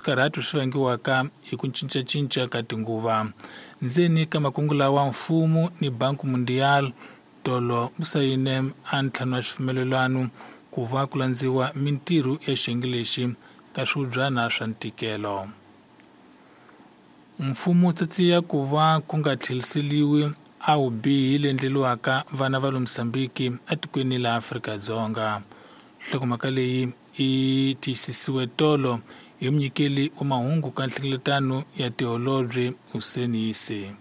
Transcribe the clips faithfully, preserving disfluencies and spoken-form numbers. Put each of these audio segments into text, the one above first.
Swikarhato swi vangiwaka hi ku cincacinca ka tinguva. Ndzeni ka makungu lawa, mfumo ni Banco Mundial tolo wu sayine a ntlhanu wa swipfumelelwano ku va ku landziwa mintirho ya xiyenge lexi ka swihubyana swa ntikelo. Mfumo wu tsatsiya ku va ku nga tlheriseriwi a vubihi leyi endleriwaka vana va le Mozambique etikweni la Afrika-Dzonga. Nhlokomhaka leyi yi tiyisisiwe tolo hi munyikeli wa mahungu ka nhlengeletano ya tiholobye Hussein Isse.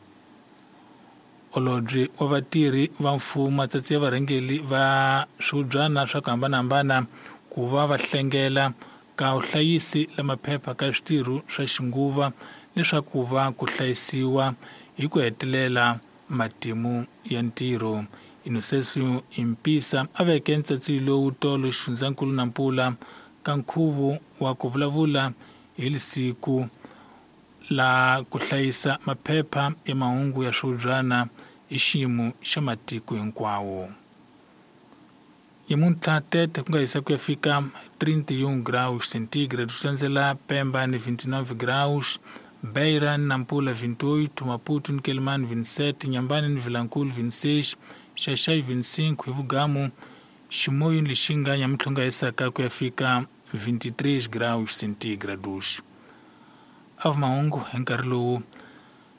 Holobye wa vatirhi va mfumo a tsatsiya varhangeri va swihubyana swa ku hambanahambana ku va va hlengela ka vuhlayisi la maphepha ka switirho swa xinguva leswaku va ku hlayisiwa hi ku hetelela matimu ya ntirho. Inocencio Impissa a veke ntsatsiyo lowu tolo xifundzankulu Nampula ka nkhuvo wa ku vulavula hi lisiku la ku hlayisa maphepha ya mahungu ya swihubyana hi xiyimo xa matiko hinkwawo. Nyamuntlha Tete ku nga hisa ku ya fika trinta e um graus centígrados, swi landzela Pemba ni vinte e nove graus, Beira ni Nampula vinte e oito, Maputo ni Quelimane vinte e sete, Inhambane ni Vilankulo vinte e seis, Xai-Xai vinte e cinco, hi Vugamu, Chimoio ni Lixinga nyamuntlha ku nga hisaka ku ya fika vinte e três graus centígrados. A va mahungu hi nkarhi lowu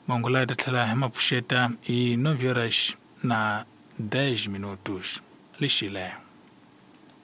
mahungu lawa ta tlhela hi ma pfuxeta hi nove horas na dez minutos. Lexile.